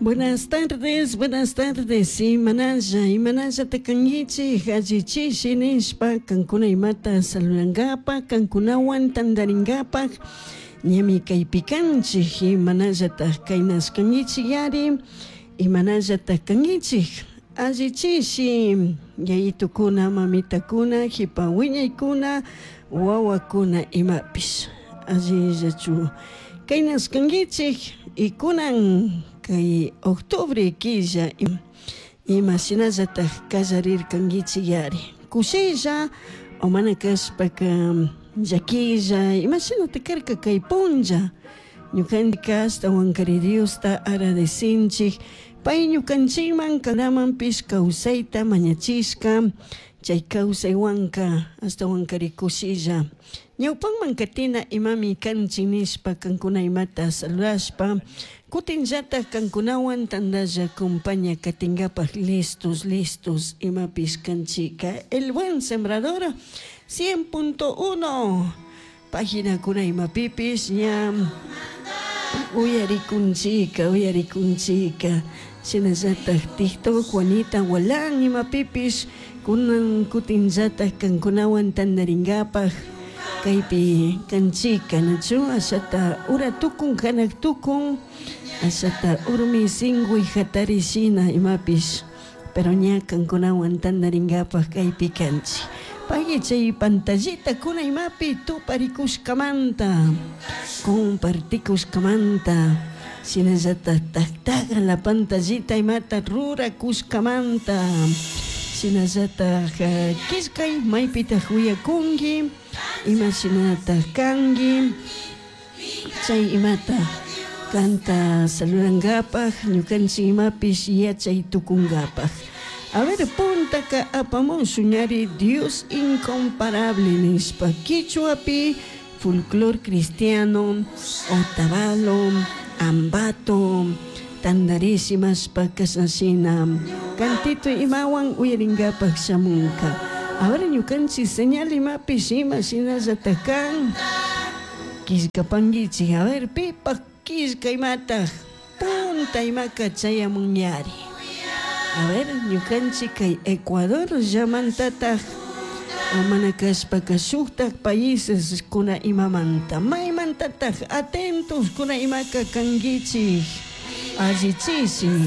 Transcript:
Buenas tardes, buenas tardes. Imanalla, imanallata kankichik, allichishi nishpa, kankuna imata saludankapak, kankunawan tantarinkapak, ñami kaypi kanchik, imanallatak kaynashkankichik yari, imanallatak kankichik, allichishi, yayitukuna, mamitakuna, jipa wiñaykuna, wawakuna imapish, allillachu kaynashkankichik, y kunan kay octubre killa ima shinallatak kallarirkankichik yari, kushilla o mana kashpaka llaquilla imashinatak karka kay punlla, ñukanchik ashtawankari Diosta agradecinchik pay ñukanchikman kanamanpish kawsayta mañachishka chay kawsaywanka ashtawankari kushilla ñawpanman katina imami kanchik nishpa kankuna imata saludashpa kutinllatak kankunawan tantalla compaña katinkapak listos listos imapish kanchika. El Buen Sembrador 100.1 paginakuna imapipish ña uyarikunchika uyarikunchika shinallatak TikTok Juanita Gualán imapipish kunan kutinllatak kankunawan tantarinkapak kaypi kanchika nachu ashata ura tukun hanak tukun ashata urmi singuy hatari shina imapish pero ña kankunawan tantarinkapak kaypi kanchik. Pagui chay pantallita kuna imapi tuparikushkamanta compartikushkamanta shinallatak taktaga la pantallita imata rurakushkamanta shinallatak killkay maypitak uyakunki ima shinatak kanki chay imata kanta saludankapak ñukanchik imapish yachay tukunkapak. A ver, puntaka apamushun ñari Dios incomparable nishpa quichuapi folclor cristiano Otavalo, Ambato, tantarishimashpa kashna cantito imawan uyarinkapak shamunka. Ahora ñukanchik señal imapish ima shinallatak kan killkapankichik. A ver, pipak killka imatak punta imaka chayamunyari. A ver, ñukanchik kay Ecuador llamantatak mana kashpaka shuktak países kuna imamanta maymantatak atentos kuna imaka kankichik allichishi.